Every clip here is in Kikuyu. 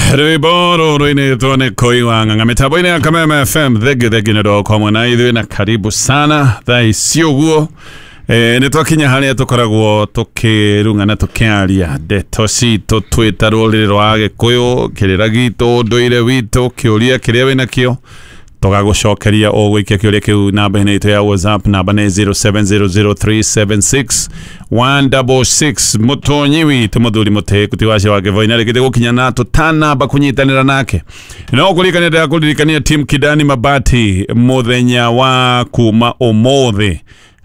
Rwimbo rũrũ nĩ koiwa ng'ang'a mĩtambo-inĩ ya Kameme FM. Thengi thengi nĩ ũndũ wa hamwe na ithuĩ na karibu sana thaa ici ũguo. Nĩ twakinya harĩa tũkoragwo tũkĩrung'ana tũkĩaria ndeto citũ twĩta rũrĩrĩ rwa Gĩkũyũ, kĩrĩra gitũ, ũndũire witũ, kĩũria kĩrĩa wĩnakĩo tũgagũcokeria. Ũgũikia kĩũria kĩu namba-inĩ itũ ya WhatsApp, namba nĩ 0700376166. Mũtonyi witũ mũthuri mũtĩku ti wacio wa Kĩboi na rĩkĩte gũkinya na tũtanamba kũnyitanĩra nake, no kũririkania ndĩrakũririkania Team Kidani Mabati mũthenya wa kuma ũmũthĩ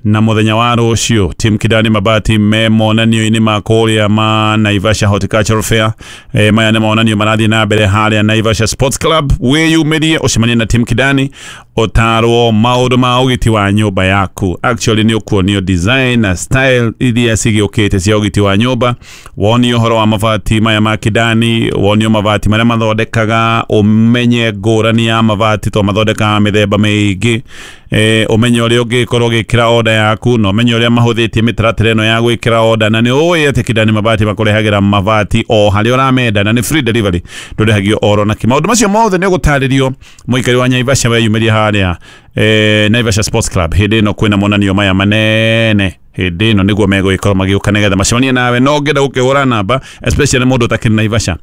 na muthenya wa rũciũ. Team Kidani Mabati me monanio-inĩ ma kũrĩa ma Naivasha Horticultural Fair. Maya nĩ monanio marathiĩ na mbere harĩa Naivasha Sports Club. Wĩyumĩrie ũcemanie na Team Kidani, ũtarwo maũndũ ma ũgiti wa nyũmba yaku. Actually nĩ ũkuonio design na style iria cigĩũkĩte cia ũgiti wa nyũmba, wonio ũhoro wa mabati maya ma Kidani, wonio mabati marĩa mathondekaga, ũmenye ngũrani ya mabati to mathondekaga mĩthemba mĩingĩ, ũmenye ũrĩa ũngĩkorwo ũgĩkĩra order yaku na ũmenye ũrĩa mahũthĩtie mĩtaratara ĩno ya gwĩkĩra order. Na nĩ ũĩ atĩ Kidani Mabati makũrehagĩra mabati o harĩa ũramenda na nĩ free delivery, ndũrĩhagio oro nakĩ. Maũndũ macio mothe nĩ ũgũtarĩrio mũikari wa Naivasha weyumĩria harĩa Naivasha Sports Club hĩndĩ ĩno kwĩna monanio maya manene. Hĩndĩ ĩno nĩguo megũgĩkorwo magĩũka nĩgetha macemanie nawe. No ũngĩenda gũkĩhũra namba, especially mũndũ ũtakĩrĩ Naivasha,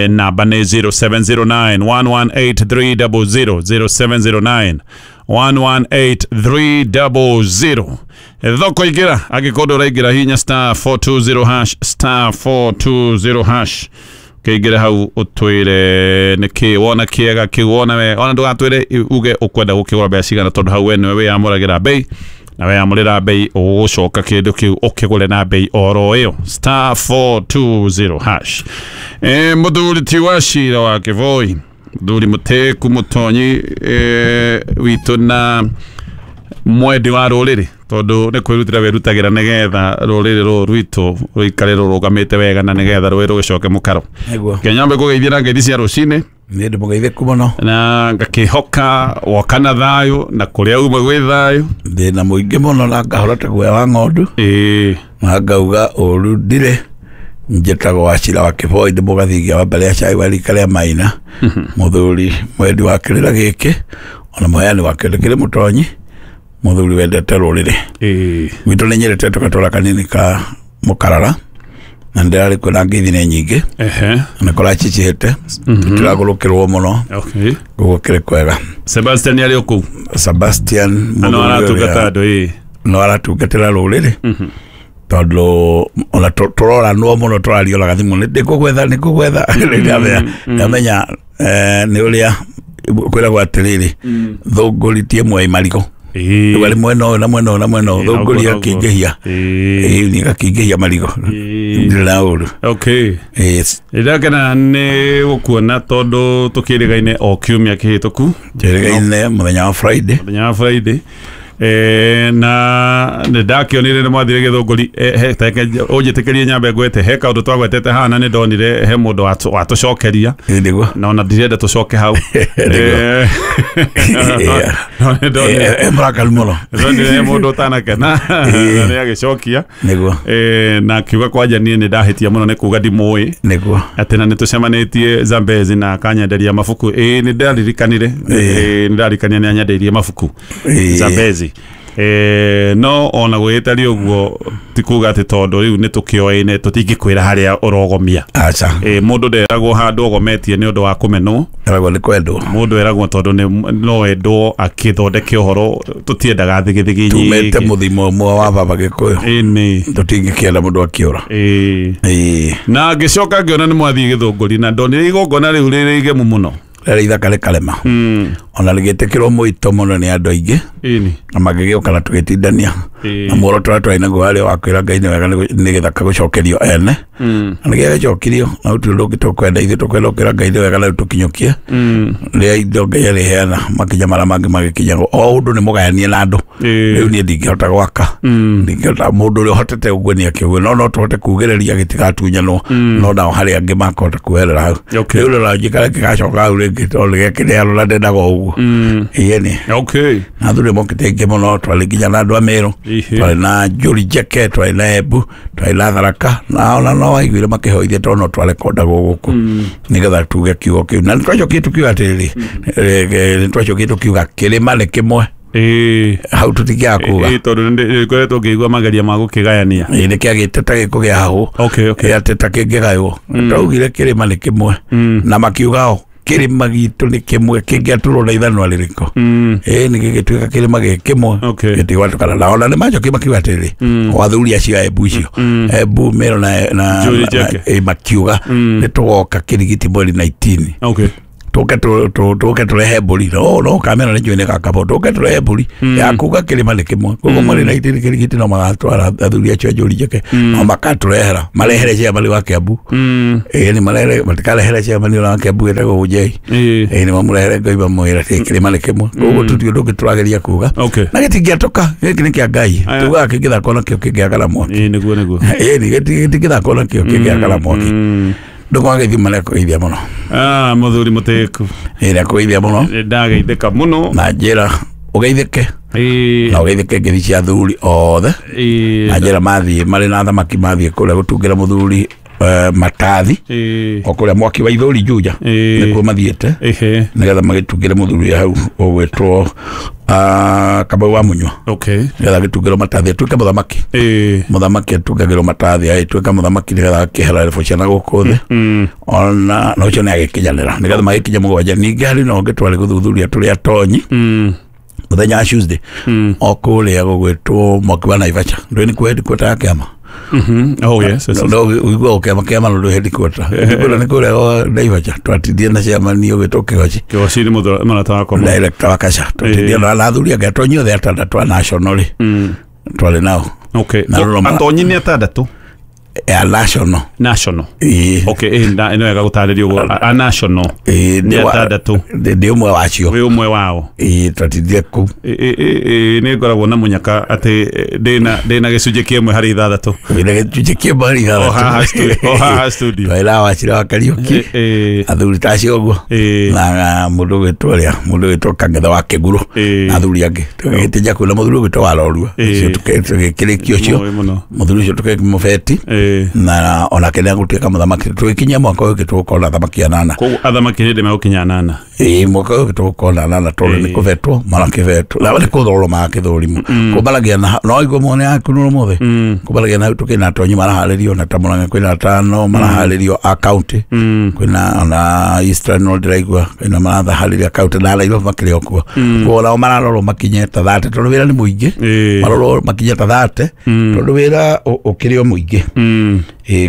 namba nĩ 0709 118 300, 0709 118 300. Thoko ingĩra, angĩkorwo ndũraingĩra, hinya *420#, *420#, kĩingĩre hau ũtwĩre nĩkĩ wona kĩega kĩu wona wega. Ona ndũgatwĩre uge ũkwenda gũkĩgũra mbeca cigana, tondũ hau we nĩwe wĩyamũragĩra bei, na weyamũrĩra bei ũgũcoka kĩndũ kĩu ũkĩgũre na bei oro ĩyo, *420#. Mũthuri ti wa cira wa Kĩboi, mũthuri mũtĩku mũtonyi witũ na mwendi wa rũrĩrĩ, tondũ nĩ kwĩrutĩra wĩrutagĩra nĩgetha rũrĩrĩ rũrũ rwitũ rũikare rũrũgamĩte wega na nĩgetha rũĩ rũgĩcoke mũkaro. Nĩguo. Kenyambe kũgeithia na ngeithi cia rũcinĩ. Nĩ ndĩ mũgeithĩku mũno. Na ngakĩhoka woka na thayũ na kũrĩa uma gwĩ thayũ. Thĩna mũingĩ mũno na ngahora ta guoya wa ng'ondu. Na ngauga ũru ndirĩ. Njĩtagwo Wachira wa Kĩboi, ndĩ mũgathingia wa mbere ya cai wa rika rĩa Maina, mũthuri mwendi wa kĩrĩra gĩkĩ ona mũheani wa kĩndũ kĩrĩ mũtonyi, mũthuri wendete rũrĩrĩ. Gwitũ nĩ nyendete tũgatũra kanini ka mũkarara na ndĩrarĩ kwĩna ngeithi nĩ nyingĩ. Na kũracicihĩte, tũtiragũrũkĩrwo mũno. Koguo kĩrĩ kwega. Sebastian arĩ o kũu? Sebastian na no mũthuri aratungata ũrĩa andũ ĩĩ. No aratungatĩra rũrĩrĩ, tondũ ona tũroranwo mũno, tũrarioraga thimũ, nĩ ndĩkũgwetha, nĩ kũgwetha. Ndamenya nĩ ũrĩa kwĩragwo atĩrĩrĩ, thũngũri ti ĩmwe ĩ marigũ. Rĩu arĩ mwena ũyũ na mwena ũyũ na mwena ũyũ, thũngũri ĩgakĩingĩhia. Ĩĩ, ĩgakĩingĩhia marigũ. Ndirĩ na ũru. Ndakena nĩ gũkuona tondũ tũkĩrĩgaine o kiumia kĩhĩtũku. Njĩrĩgaine mũthenya wa Friday. Mũthenya wa Friday. Na nĩ ndakĩonire nĩ mwathire Gĩthũngũri. Ũnjĩtĩkĩrie nyambe ngwete he kaũndũ twagwetete haha, na nĩ ndonire he mũndũ watũcokeria. Ĩĩ, nĩguo. Na ona ndirenda tũcoke hau. Nĩguo. No nĩ ndonire Mũrakaru mũno. Ndonire he mũndũ ũtanakena na nĩ agĩcokia. Na akiuga kwanja niĩ nĩ ndahĩtia mũno nĩ kuga ndimũĩ, atĩ na nĩ tũcemanĩtie Zambezi na akanyenderia mabuku. Ĩĩ, nĩ ndaririkanire. Ĩĩ, nĩ ndaririkanire nĩ anyendeirie mabuku Zambezi. No ona gwĩtari ũguo ti kuga atĩ tondũ rĩu nĩ tũkĩoĩne tũtingĩkwĩra harĩa ũrogomia. Aca. Mũndũ nderagwo handũ ogometie nĩ ũndũ wa kũmenwo. Eragwo nĩ kwendwo. Mũndũ eragwo tondũ nĩ no endwo akĩthondeke ũhoro, tũtiendaga thigithigi Tumĩte nyingĩ. mũthimo ũmwe wa baba Gĩkũyũ. Ĩni. Tũtingĩkĩenda mũndũ akĩũra. Ĩĩ. Na ngĩcoka ngĩona nĩ mwathiĩ Gĩthũngũri na ndonire igongona rĩu rĩrĩ igemu mũno. Rĩrĩ ithaka rĩkarema, ona rĩgĩtĩkĩrwo mũito mũno nĩ andũ aingĩ na magĩgĩũka na tũgĩtindania na muoroto ũrĩa twarĩ naguo warĩ wa kwĩra Ngai nĩ wega nĩ gĩthaka gũcokerio ene, na nĩ gĩagĩcokirio na gũtirĩ ũndũ ũngĩ tũkwenda. Ithuĩ tũkwenda gũkĩra Ngai nĩ wega na rĩu tũkinyũkie rĩrĩa indo Ngai arĩheana makinya marĩa mangĩ magĩkinyagwo o ũndũ nĩ mũgayanie na andũ. Rĩu niĩ ndingĩhota gwaka, ndingĩhota, mũndũ ũrĩa ũhotete ũguo nĩ akĩũgue, no no tũhote kugĩrĩria gĩtigatunyanwo, no nao harĩ angĩ makahota kuoerera hau. Rĩu rora njikare gĩgacoka hau rĩngĩ. rĩngĩ tondũ gĩakĩrĩ na ndendaga ũguo. Ĩni. Okay. Na athuri mokĩte aingĩ mũno, twarĩ nginya na andũ a Meru, twarĩ na Njũri Njeke, twarĩ na Embu, twarĩ na Tharaka, na ona no waiguire makĩhoithia tondũ no twarekondagwo gũkũ nĩgetha tuge kiugo kĩu. Na nĩtwacokire tũkiuga atĩrĩrĩ, nĩtwacokire tũkiuga kĩrĩma nĩ kĩmwe. Hau tũtingĩaga kuga. Tondũ nĩngoretwo ngĩigua mageria ma gũkĩgayania. Nĩ kĩagĩte ta gĩkũgĩa hau. Okay, okay. Atĩ ta kĩngĩgaywo. Twaugire kĩrĩma nĩ kĩmwe. Na makiuga o kĩrĩma gitũ nĩ kĩmwe kĩngĩatũrwo na ithanwa rĩrĩkũ. Nĩ gĩgĩtuĩka kĩrĩma gĩ kĩmwe. Gĩtigwatũkana. Na ona nĩ macokire makiuga atĩrĩrĩ, o athuri acio a Embu icio, Embu, Meru na makiuga nĩ tũgoka Kĩrigiti mweri 19. Okay. Tũke tũrehe mbũri. No kamera nĩ njũĩ nĩ gakabo. Tũke tũrehe mbũri ya kuga kĩrĩma nĩ kĩmwe. Koguo mweri 19 Kĩrigiti no magatwara athuri acio a Njũri Njeke, no makatũrehera, marehere chairman wa Kiambu. Nĩ marehere, matikarehere chairman wa Kiambu wĩtagwo Ũnjei. Nĩ mamũrehere Ngai mamwĩra atĩ kĩrĩma nĩ kĩmwe. Koguo tũtirĩ ũndũ ũngĩ tũrageria kuga. Na gĩtingĩatũka, gĩkĩ nĩ kĩa Ngai. Tugaga kĩngĩthakwo nakĩo kĩngĩakana mwaki. Nĩguo nĩguo. Gĩtingĩthakwo nakĩo kĩngĩakana mwaki. Ndũkwaga gĩthima nĩ kũgeithia mũno. Mũthuri mũtĩku. Nĩ kũgeithia mũno. Ndageithĩka mũno. Na njĩra ũgeithĩke. Na ũgeithĩke ngeithi cia athuri othe. Na njĩra mathiĩ marĩ na thamaki mathiĩ kũrĩa gũtungĩra mũthuri matathi. O kũrĩa mwaki wa Ithũri Juja. Nĩkuo mathiĩte. Nĩgetha magĩtungĩre mũthuri hau ũgwĩtwo Kamau wa Munyua. Okay. Nĩgetha agĩtungĩrwo matathi atuĩke mũthamaki. Mũthamaki atungagĩrwo matathi agĩtuĩka mũthamaki nĩgetha akĩhera rebu ciana gũkũ thĩ. Ona na ũcio nĩ agĩkinyanĩra nĩgetha magĩkinya mũgwanja. Ningĩ harĩ na ũngĩ twarĩ gũthuthuria tũrĩ atonyi mũthenya wa Tuesday o kũrĩa gũgwĩtwo mwaki wa Naivasha. Ndũĩ nĩkuo headquarter ya kĩama? Oh yes, yes. No ũiguaga kĩama kĩama no ndũĩ headquarter. Headquarter nĩ kũrĩa Naivasha. Twatindire na chairman ũgwĩtwo Kĩgoci. Kĩgoci nĩ mũrata wakwa. Director wa Kasha. Twatindire na athuri angĩ atonyi othe atandatũ a national rĩ. Twarĩ nao. Okay. Atonyi nĩ atandatũ? A national. National. Okay, ĩno wega gũtarĩria ũguo. A national. Nĩ atandatũ. Ndĩ ũmwe wacio. Wĩ ũmwe wao. Twatindire kũu. Nĩ ngoragwo na mũnyaka atĩ ndĩna gĩcunjĩ kĩmwe harĩ ithathatũ. Wĩna gĩcunjĩ kĩmwe harĩ ithathatũ. O haha studio. Twarĩ na Wachira wa Kariũki. Athuri ta acio ũguo. Na mũndũ ũgwĩtwo ũrĩa, mũndũ ũgwĩtwo Kang'ethe wa Kĩgurũ. Na athuri angĩ. Tũgĩgĩtĩnja kũu na mũthuri ũgwĩtwo Warorua. Ũcio tũgĩkĩrĩkia ũcio. Mũthuri ũcio tũkĩmũbeti. Na onake nĩ agũtuĩka mũthamaki. Tũgĩkinyia mwaka ũyũ tũgũkorwo na athamaki anana. Koguo athamaki hĩndĩ megũkinya anana. Mwaka ũyũ tũgũkorwo na anana tondũ nĩ kũbetwo marakĩbetwo. Na nĩ kũthorwo marakĩthũrimwo. Kũmbaragia na no igua mone yaku no mũthĩ. Kũmbaragia na tũkĩna atonyi maraharĩrio na ta Murang'a kwĩna atano maraharĩrio a county. Kwĩna ona Eastern no ndĩraigua kwĩna marathaharĩria county na Nairobi makĩrĩ o kuo. Koguo nao mararorwo makinye ta 30 tondũ wĩra nĩ mũingĩ. Marorwo makinye ta 30 tondũ wĩra ũkĩrĩ o mũingĩ.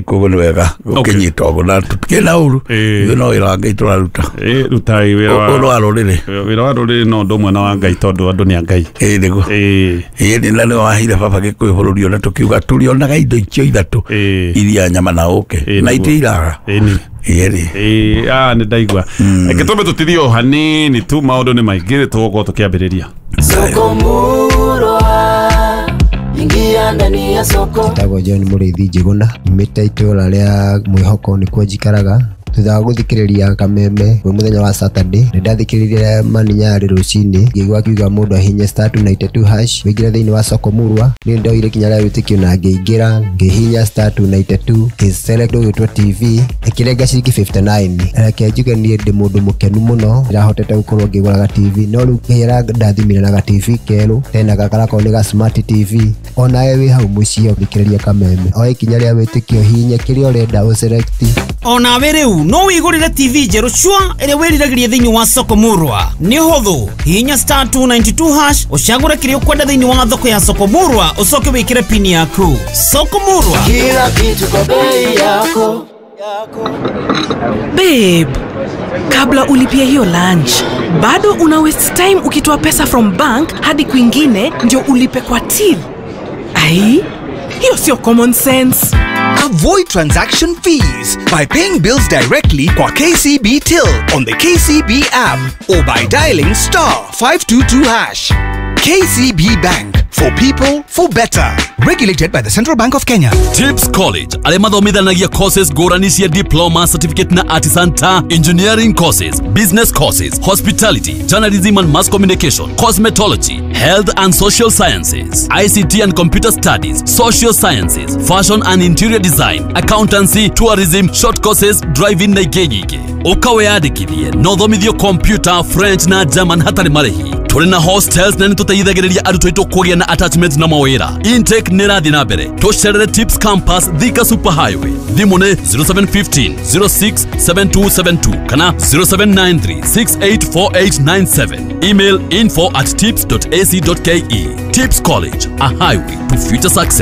Koguo nĩ wega gũkĩnyita ũguo na tũtikĩrĩ na ũru. Ithuĩ no wĩra wa Ngai tũraruta. Rutai wĩra wa ũndũ wa rũrĩrĩ. Wĩra wa rũrĩrĩ no ũndũ ũmwe na wa Ngai tondũ andũ nĩ a Ngai. Nĩguo. Nĩ na nĩwe waheire baba Gĩkũyũ bũrũri ũyũ na tũkiuga tũrĩonaga indo icio ithatũ iria nyama na ũkĩ na itiraga. Nĩ ndaigua. Reke twambe tũtithie o hanini tu maũndũ nĩ maingĩ tũgũkorwo tũkĩambĩrĩria. Soko Murwa, ingia ndani ya soko. Njĩtagwo John Mũrĩithi Njĩgũna, nyumĩte itũũra rĩa Mwĩhoko nĩkuo njikaraga. Thutha wa gũthikĩrĩria Kameme kwĩ mũthenya wa Saturday, nĩ ndathikĩrĩirie Mani Nyarĩ rũcinĩ, ngĩigua akiuga mũndũ ahihinye *292# ũingĩre thĩinĩ wa soko Murwa. Niĩ ndoire ikinya rĩa wĩtĩkio na ngĩingĩra, ngĩhihinya *292, ngĩselect ũgwĩtwo TV, ĩkĩrenga ciringi 59. Reke njuge niĩ ndĩ mũndũ mũkenu mũno, ndĩrahotete gũkorwo ngĩgũra ga TV, no rĩu kĩrĩa ndathimire na ga TV kerũ, tena gaka garakorwo nĩ ga smart TV. Onawe wĩ hau mũciĩ ũthikĩrĩria Kameme, oe ikinya rĩa wĩtĩkio, hihinya kĩrĩa ũrenda ũselect. Onawe rĩu no wĩgũrĩre TV njerũ cua ĩrĩa wĩriragĩria thĩinĩ wa soko Murwa. Nĩ ũhũthũ, hihinya *292# ũcagũre kĩrĩa ũkwenda thĩinĩ wa thoko ya soko Murwa, ũcoke wĩkĩre pini yaku. Soko Murwa, kila kitu kwa bei yako. Babe, kabla ulipie hiyo lunch, bado una waste time ukitoa pesa from bank hadi kwingine ndio ulipe kwa till. Ai, hiyo sio common sense. Avoid transaction fees by paying bills directly kwa KCB Till on the KCB app or by dialing *522#. KCB Bank For people, for better. Regulated by the Central Bank of Kenya. Tips College arĩa mathomithanagia courses ngũrani cia diploma, certificate na artisan ta engineering courses, business courses, hospitality, journalism and mass communication, cosmetology, health and social sciences, ICT and computer studies, social sciences, fashion and interior design, accountancy, tourism, short courses, driving na ingĩ nyingĩ. Ũka wĩyandĩkithie na ũthomithio computer, French na German hatarĩ marĩhi. Tũrĩ na hostels na nĩtũteithagĩrĩria arutwo aitũ kũgĩa na attachment na mawĩra. Intake nĩ ĩrathiĩ na mbere. Tũcerere Tips Campus, Thika Super Highway. Thimũ nĩ 0715 067272 kana 0793 684897. Email info@tips.ac.ke. Tips College, a highway to future success.